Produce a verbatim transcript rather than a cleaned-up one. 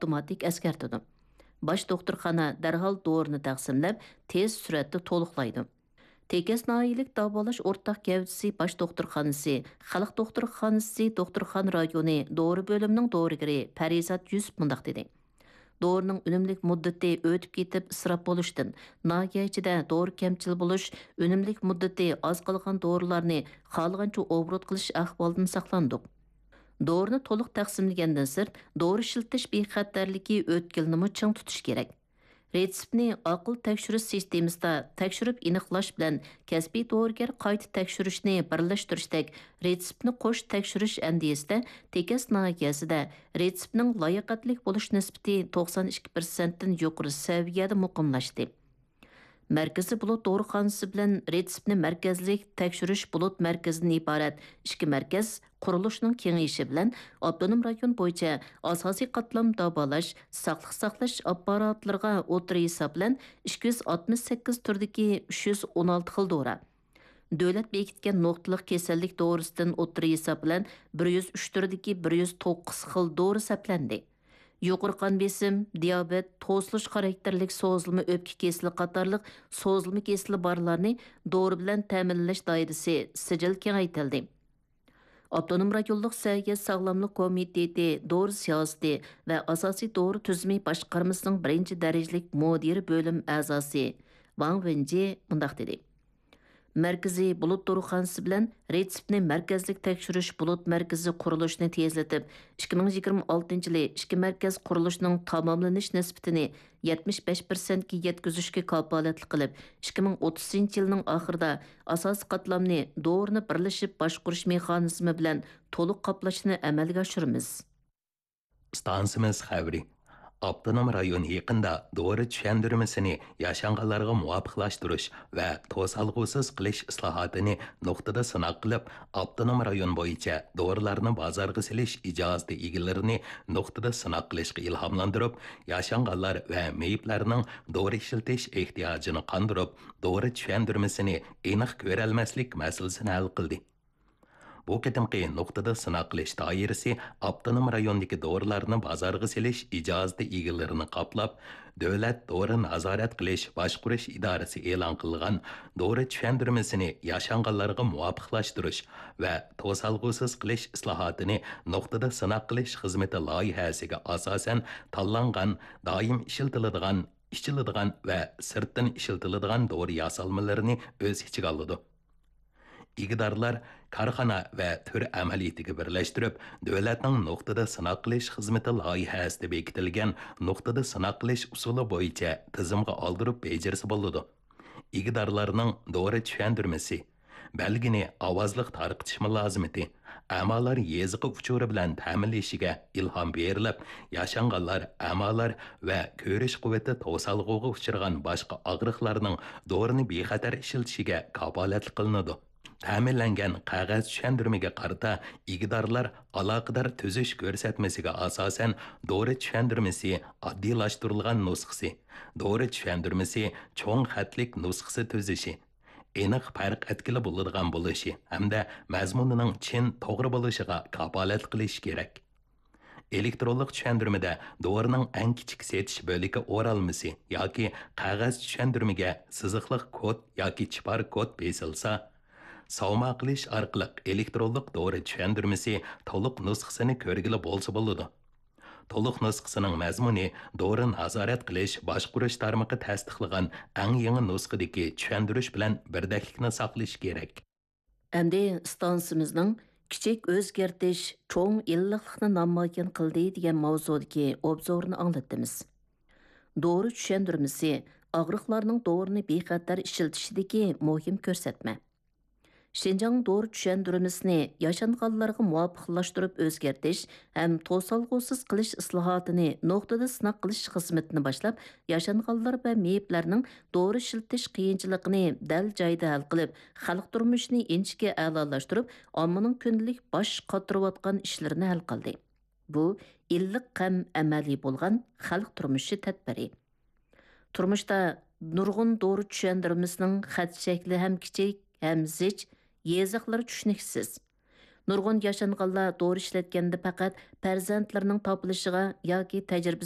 ئاپتوماتىك ئەسكەرتىدۇ. باش دوختۇرخانا دەرھال دورىنى تەقسىملەپ، تېز سۈرئەتتە تولۇقلايدۇ. تېكەس ناھىيەلىك داۋالاش ئورتاق گەۋدىسى باش دوختۇرخانىسى، خەلق دوختۇرخانىسى دوختۇرخانا رايونى دورا بۆلۈمىنىڭ دورىگىرى پەرىزات يۈسۈپ مۇنداق دېدى: دورىنىڭ ئۈنۈملۈك مۇددىتى ئۆتۈپ كېتىپ ئىسراپ بولۇشتىن، ناھىيە ئىچىدە دورا كەمچىل بولۇش، ئۈنۈملۈك مۇددىتى ئاز قالغان دورىلارنى خالىغانچە ئوبوروت قىلىش ئەھۋالىدىن ساقلاندۇق. دورىنى تولۇق تەقسىملىگەندىن سىرت، دورا ئىشلىتىش بىخەتەرلىكى ئۆتكىلىنىمۇ چىڭ تۇتۇش كېرەك. رېتسېپنى ئاقىل تەكشۈرۈش سىستېمىسىدا تەكشۈرۈپ ئېنىقلاش بىلەن كەسپىي دورىگەر قايتا تەكشۈرۈشنى بىرلەشتۈرۈشتەك رېتسېپنى قوش تەكشۈرۈش ئەندىزىسىدە تېكەس ناھىيەسىدە رېتسېپنىڭ لاياقەتلىك بولۇش نىسبىتى توقسان ئىككى پىرسەنتتىن يۇقىرى سەۋىيەدە مۇقىملاشتى. مەركىزىي بۇلۇت دورىخانىسى بىلەن رېتسېپنى مەركەزلىك تەكشۈرۈش بۇلۇت مەركىزىدىن ئىبارەت ئىككى مەركەز قۇرۇلۇشىنىڭ كېڭىيىشى بىلەن ئاپتونوم رايون بويىچە ئاساسىي قاتلام داۋالاش، ساقلىق ساقلاش ئاپپاراتلىرىغا ئوتتۇرا ھېساب بىلەن ئىككى يۈز ئاتمىش سەككىز تۈردىكى ئۈچ يۈز ئون ئالتە خىل دورا، دۆلەت بېكىتكەن نۇقتىلىق كېسەللىك دورىسىدىن ئوتتۇرا ھېساب بىلەن بىر يۈز ئۈچ تۈردىكى بىر يۈز توققۇز خىل دورا سەپلەندى. يۇقىرى قان بېسىم، دىيابېت، توسۇلۇش خاراكتېرلىك سوزۇلما ئۆپكە كېسىلى قاتارلىق سوزۇلما كېسىلى بارلارنى دورا بىلەن تەمىنلەش دائىرىسى سىجىل كېڭەيتىلدى. ئاپتونوم رايونلۇق سەھىيە ساغلاملىق كومىتېتى دورا سىياسىتى ۋە ئاساسىي دورا تۈزۈمى باشقارمىسىنىڭ بىرىنچى دەرىجىلىك مۇدىرى بۆلۈم ئەزاسى ۋاڭ ۋېنجى مۇنداق دېدى: مەركىزىي بۇلۇت دورىخانىسى بىلەن رېتسېپنى مەركەزلىك تەكشۈرۈش بۇلۇت مەركىزى قۇرۇلۇشىنى تېزلىتىپ، ئىككى مىڭ يىگىرمە ئالتىنچى يىلى ئىككى مەركەز قۇرۇلۇشىنىڭ تاماملىنىش نىسبىتىنى يەتمىش بەش پىرسەنتكە يەتكۈزۈشكە كاپالەتلىك قىلىپ، ئىككى مىڭ ئوتتۇزىنچى يىلنىڭ ئاخىرىدا ئاساسىي قاتلامنى دورىنى بىرلىشىپ باشقۇرۇش مېخانىزمى بىلەن تولۇق قاپلاشنى ئەمەلگە ئاشۇرىمىز. ئىستانسىمىز خەۋىرى. ئاپتونوم رايون يېقىندا دورا چۈشەندۈرمىسىنى ياشانغانلارغا مۇۋاپىقلاشتۇرۇش ۋە توسالغۇسىز قىلىش ئىسلاھاتىنى نۇقتىدا سىناق قىلىپ، ئاپتونوم رايون بويىچە دورىلارنى بازارغا سېلىش ئىجازىتى ئىگىلىرىنى نۇقتىدا سىناق قىلىشقا ئىلھاملاندۇرۇپ، ياشانغانلار ۋە مېيىپلەرنىڭ دورا ئىشلىتىش ئېھتىياجىنى قاندۇرۇپ، دورا چۈشەندۈرمىسىنى ئېنىق كۆرەلمەسلىك مەسىلىسىنى ھەل قىلدى. بۇ قېتىمقى نۇقتىدا سىناق قىلىش دائىرىسى ئاپتونوم رايوندىكى دورىلارنى بازارغا سېلىش ئىجازىتى ئىگىلىرىنى قاپلاپ، دۆلەت دورا نازارەت قىلىش باشقۇرۇش ئىدارىسى ئېلان قىلغان دورا چۈشەندۈرمىسىنى ياشانغانلارغا مۇۋاپىقلاشتۇرۇش ۋە توسالغۇسىز قىلىش ئىسلاھاتىنى نۇقتىدا سىناق قىلىش خىزمىتى لايىھەسىگە ئاساسەن تاللانغان دائىم ئىشلىتىلىدىغان، ئىچىلىدىغان ۋە سىرتتىن ئىشلىتىلىدىغان دورا ياسالمىلىرىنى ئۆز ئىچىگە ئالىدۇ. ئىگىدارلار كارخانا ۋە تۈر ئەمەلىيىتىگە بىرلەشتۈرۈپ، دۆلەتنىڭ نۇقتىدا سىناق قىلىش خىزمىتى لايىھەسىدە بېكىتىلگەن نۇقتىدا سىناق قىلىش ئۇسۇلى بويىچە تىزىمغا ئالدۇرۇپ بېجىرسە بولىدۇ. ئىگىدارلارنىڭ دورا چۈشەندۈرمىسى، بەلگىنى ئاۋازلىق تارقىتىش مۇلازىمىتى، ئەمالار يېزىقى ئۇچۇرى بىلەن تەمىنلىشىگە ئىلھام بېرىلىپ، ياشانغانلار، ئەمالار ۋە كۆرۈش قۇۋۋىتى توسالغۇغا ئۇچرىغان باشقا ئاغرىقلارنىڭ دورىنى بىخەتەر ئىشلىتىشىگە كاپالەتلىك قىلىنىدۇ. تەمىنلەنگەن قەغەز چۈشەندۈرمىگە قارىتا ئىگىدارلار ئالاقىدار تۈزۈش كۆرسەتمىسىگە ئاساسەن دورا چۈشەندۈرمىسى ئاددىيلاشتۇرۇلغان نۇسخىسى، دورا چۈشەندۈرمىسى چوڭ خەتلىك نۇسخىسى تۈزۈشى، ئېنىق پەرق ئەتكىلى بولىدىغان بولۇشى ھەمدە مەزمۇنىنىڭ چىن، توغرا بولۇشىغا كاپالەتلىك قىلىش كېرەك. ئېلېكترونلۇق چۈشەندۈرمىدە دورىنىڭ ئەڭ كىچىك سېتىش بۆلىكى ئورالمىسى ياكى قەغەز چۈشەندۈرمىگە سىزىقلىق كود ياكى چىپار كود بېسىلسا، ساۋما قىلىش ئارقىلىق ئېلېكترونلۇق دورا چۈشەندۈرمىسى تولۇق نۇسخىسىنى كۆرگىلى بولسا بولىدۇ. تولۇق نۇسخىسىنىڭ مەزمۇنى دورا نازارەت قىلىش باشقۇرۇش تارمىقى تەستىقلىغان ئەڭ يېڭى نۇسخىدىكى چۈشەندۈرۈش بىلەن بىردەكلىكنى ساقلىشى كېرەك. ئەمدى ئىستانسىمىزنىڭ كىچىك ئۆزگەرتىش چوڭ ئىللىقلىقنى نامايان قىلدى دېگەن ماۋزۇدىكى ئوبزورنى ئاڭلىتىمىز. دورا چۈشەندۈرمىسى ئاغرىقلارنىڭ دورىنى بىخەتەر ئىشلىتىشىدىكى مۇھىم كۆرسەتمە. شىنجاڭ دورا چۈشەندۈرمىسىنى ياشانغانلارغا مۇۋاپىقلاشتۇرۇپ ئۆزگەرتىش ھەم توسالغۇسىز قىلىش ئىسلاھاتىنى نۇقتىدا سىناق قىلىش خىزمىتىنى باشلاپ، ياشانغانلار ۋە مېيىپلەرنىڭ دورا ئىشلىتىش قىيىنچىلىقىنى دەل جايىدا ھەل قىلىپ، خەلق تۇرمۇشىنى ئىنچىكە ئەلالاشتۇرۇپ، ئاممىنىڭ كۈندىلىك باش قاتۇرۇۋاتقان ئىشلىرىنى ھەل قىلدى. بۇ ئىللىق ھەم ئەمەلىي بولغان خەلق تۇرمۇشى تەدبىرى. تۇرمۇشتا نۇرغۇن دورا چۈشەندۈرمىسىنىڭ خەت شەكلى ھەم كىچىك، ھەم زىچ، يېزىقلىرى چۈشىنىكسىز. نۇرغۇن ياشانغانلار دورا ئىشلەتكەندە پەقەت پەرزەنتلىرىنىڭ تاپىلىشىغا ياكى تەجرىبە